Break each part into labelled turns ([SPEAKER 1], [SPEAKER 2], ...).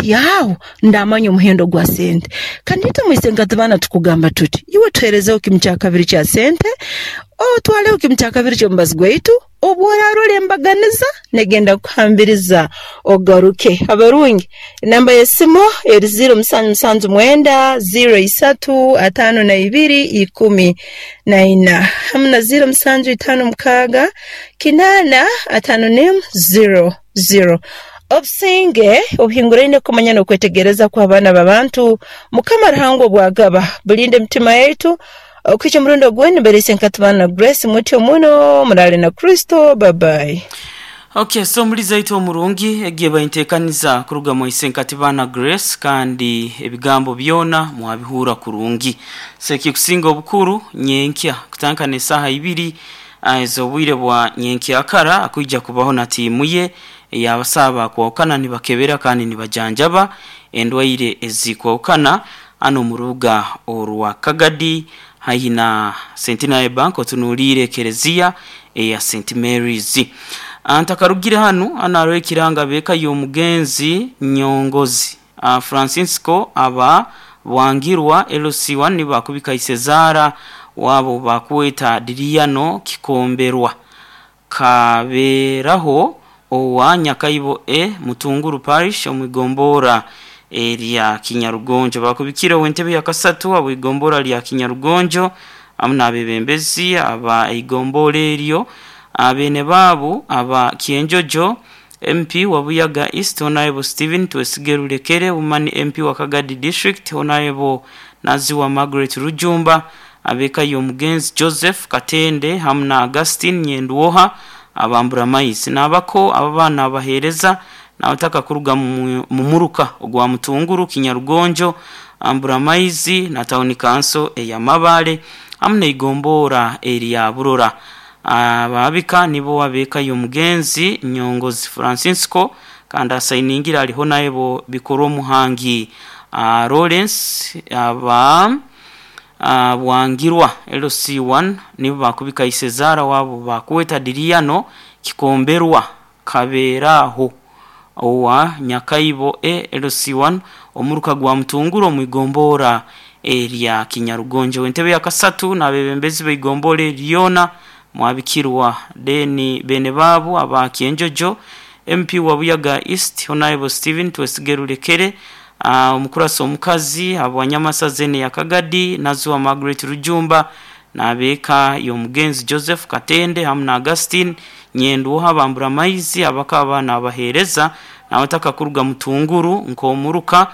[SPEAKER 1] Hati aho ndamanya omuhendo gwa sente. Kandi itwe mwise nkatubana tukugamba tuti, iwe tuherezeho kimu kya kabiri kya sente, otwaleho kimu kya kabiri ky'omubazi gwaitu, obu orarora embaganiza negenda kukuhambiriza ogaruke. Abarungi, enamba y'esimu eri ziiro musanju musanju mwenda, ziiro isatu, ataano na ibiri, ikumi na ina, hamu na ziiro musanju itaano mukaaga, kinaana, ataano n'emu, ziiro, ziiro. Obusinge obuhinguraine kumanya n'okwetegereza kw'abaana b'abantu, Mukama Ruhanga obwagaba, bulinde emitima yaitu okuhikya omurundi ogundi. Mbaire Nkatubana na Grace mutyo muno, muraale na Kristo. Bye bye.
[SPEAKER 2] Ok, so omulizi aitu omurungi, egi eba entekaniza kuruga mwa Isenkatibana Grace kandi ebigambo byona mwabihurra kurungi. So ekikusinga obukuru nyenkya kutandika n'esaaha ibiri ez'obwire bwa nyenkyakara akwija kubaho na tiimu ye ey'abasaho abakwahukana nibakebera kandi nibajanjaba endwaire ezikwahukana hanu omu rubuga orwa Kagadi haihi na Centenary Bank otunuliire ekereziya eya Saint Mary's. Ntakarugire hanu, hanu haroho ekiranga ab'eka y'omugenzi Nyongozi Francisco aba Bwangirwa LC1 nibo bakubika Isezaara waabo bakweta Diriano Kikomberwa. Kabeeraho owa Nyakaibo A Mutunguru Parish omu igomboora erya Kinyarugonjo. Baakubikire ow'entebe ya kasatu abw'igomboora lya Kinyarugonjo hamu n'abebembezi aba eigomboora eryo, beene baabu aba Kyenjojo, MP wa Buyaga East Honourable Stephen Twesige Rurekere, Woman MP wa Kagadi District Honourable Naziwa Margaret Rujumba, Ab'eka y'omugenzi Joseph Katende hamu na Augustine Nyendwoha aba Mburamaizi n'abako ababa nabaheereza n'abataka kuruga mu muruka ogwa Mutunguru, Kinyarugonjo, Mburamaizi na tawuni kanso eya Mabale hamu n'eigomboora erya Burora. Abaabika nibo ab'eka y'omugenzi Nyongozi Francisco kandi asainingire ali Honourable Bikorwomuhangi Lawrence aba Bwangirwa LC1 nibo baakubika Isezaara waabo baakweta Diriano Kikomberwa Kabeeraaho owa Nyakaibo A LC1 omuruka gwa Mutunguru omu igomboora erya Kinyarugonjo. Ow'entebe ya kasatu n'abeebembezi b'eigomboora eri lyona mwabikirwa then beene baabo aba Kyenjojo, MP wa Buyaga East Honourable Stephen Twesige Rurekere, Omukurasi omukazi habwa Nyamasaza eno eya Kagadi, Naziwa Margaret Rujumba n'ab'eka y'omugenzi Joseph Katende hamu na Augustine Nyendwoha Bamburamaizi abakaba nabaheereza n'abataka kuruga Mutunguru nk'omuruka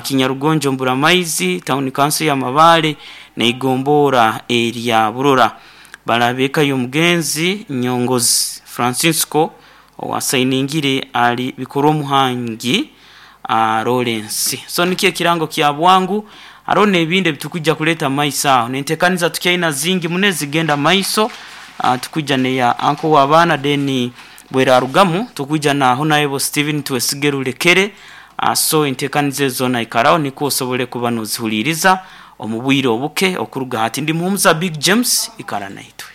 [SPEAKER 2] Kinyarugonjo Mburamaizi, Tawuni Kanso ya Mabaale n'eigomboora erya Burora. Bale ab'eka y'omugenzi Nyongozi Francisco Owasainingire ali Bikorwomuhangi Lawrence. So nikyo ekirango kya bwangu. Haroho n'ebindi ebitukwija kuleeta mu maiso aho. N'entekaniza tukyaina zingi muno ezigenda mu maiso. Tukwija n'eya Uncle w'abaana then bwerarugamu tukwija na Honourable Stephen Twesige Rurekere. So entekaniza ezo zoona ikaraho nikwo osobole kuba nozihuliiriza omu bwire obuke okuruga hati. Ndi Muhumuza Big James, ikara naitwe.